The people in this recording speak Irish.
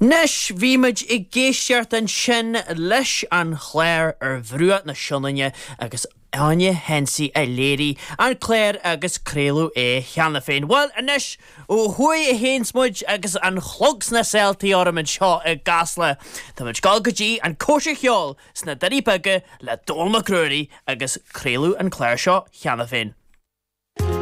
Anois, bhí muid ag éisteacht ansin leis an chlár Ar Bhruach na Sionainne agus Áine Hensey a léirigh an clár agus craoladh é cheana féin. Bhuel, anois, ó thuaidh a théanns muid agus an clog sna seoltaí orm anseo i gCasla. Tá muid ag dul go dtí an Cóisir Cheoil sna Doirí Beaga le Dónall Mac Ruairí agus craoladh an clár seo cheana féin.